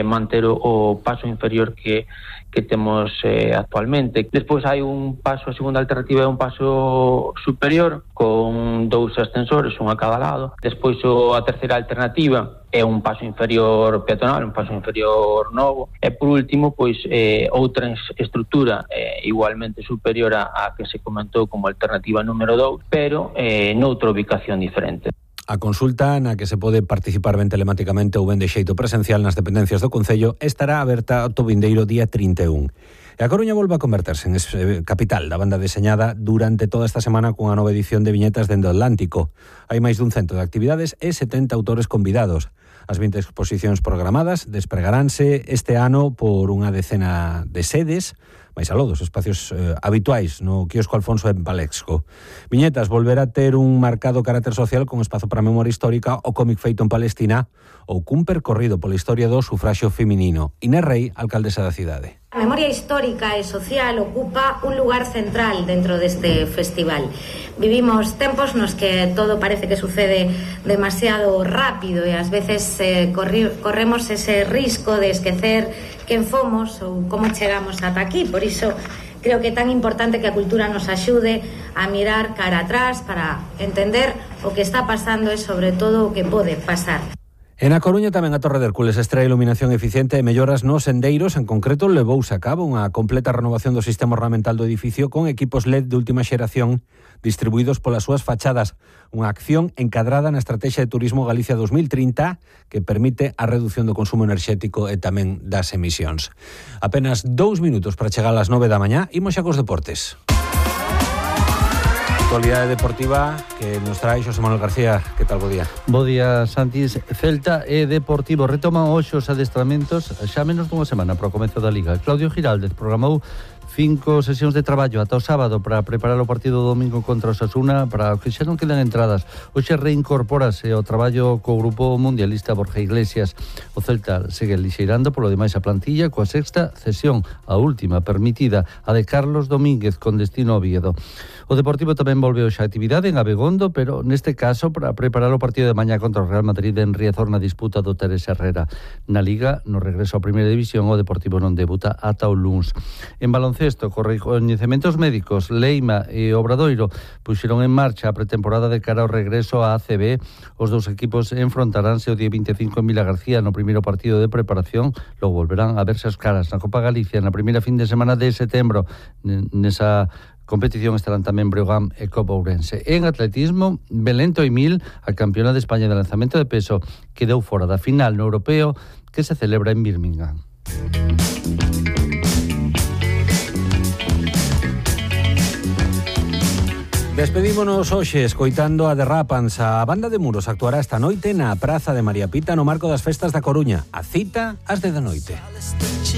manter o paso inferior que temos actualmente. Despois hai un paso, a segunda alternativa é un paso superior con 2 ascensores, un a cada lado. Despois a terceira alternativa é un paso inferior peatonal, un paso inferior novo. E por último, pois outra estrutura igualmente superior a que se comentou como alternativa número 2, pero noutra ubicación diferente. A consulta na que se pode participar ben telematicamente ou ben de xeito presencial nas dependencias do Concello estará aberta ata o vindeiro día 31. E a Coruña volve a converterse en capital da banda deseñada durante toda esta semana cunha nova edición de viñetas dende o Atlántico. Hai máis dun 100 de actividades e 70 autores convidados. As 20 exposicións programadas despregaránse este ano por unha decena de sedes, máis aló dos espacios habituais no quiosco Alfonso en Palexco. Viñetas volverá a ter un marcado carácter social con espazo para a memoria histórica, o cómic feito en Palestina ou cun percorrido pola historia do sufraxio feminino. Inés Rey, alcaldesa da cidade. A memoria histórica e social ocupa un lugar central dentro deste festival. Vivimos tempos nos que todo parece que sucede demasiado rápido e ás veces corremos ese risco de esquecer quen fomos ou como chegamos ata aquí. Por iso creo que é tan importante que a cultura nos axude a mirar cara atrás para entender o que está pasando e sobre todo o que pode pasar. En A Coruña tamén a Torre de Hércules extrae iluminación eficiente e melloras nos sendeiros. En concreto, levouse a cabo unha completa renovación do sistema ornamental do edificio con equipos LED de última xeración distribuídos polas súas fachadas. Unha acción encadrada na Estrategia de Turismo Galicia 2030 que permite a reducción do consumo enerxético e tamén das emisións. Apenas 2 minutos para chegar ás 9 da mañá. Imos xa cos deportes. Actualidade deportiva que nos trae Xosé Manuel García. Que tal, bo día? Bo día, Santis. Celta e Deportivo retoman hoxe os adestramentos xa menos dunha semana para o comezo da Liga. Claudio Giraldez programou 5 sesións de traballo ata o sábado para preparar o partido do domingo contra o Osasuna, para o que xa non quedan entradas. Hoxe reincorpórase ao traballo co grupo mundialista Borja Iglesias. O Celta segue lixeirando polo demais a plantilla coa sexta cesión, a última permitida, a de Carlos Domínguez con destino a Oviedo. O Deportivo tamén volve hoxe a actividade en Abegondo, pero neste caso para preparar o partido de mañá contra o Real Madrid en Riazor na disputa do Teresa Herrera. Na Liga, no regreso á Primeira División, o Deportivo non debuta ata o luns. En baloncesto, con recoñecementos médicos, Leima e Obradoiro puxeron en marcha a pretemporada de cara ao regreso á ACB. Os dous equipos enfrontaránse o día 25 en Vila García no primeiro partido de preparación, logo volverán a verse as caras na Copa Galicia na primeira fin de semana de setembro. Nesa competición estarán tamén Breogán e Copa Ourense. En atletismo, Belén Toimil, a campeona de España de lanzamento de peso, quedou fora da final no europeo que se celebra en Birmingham. Despedímonos hoxe escoitando a Derrapans. A banda de Muros actuará esta noite na Praza de María Pita no marco das festas da Coruña. A cita ás 10 da noite.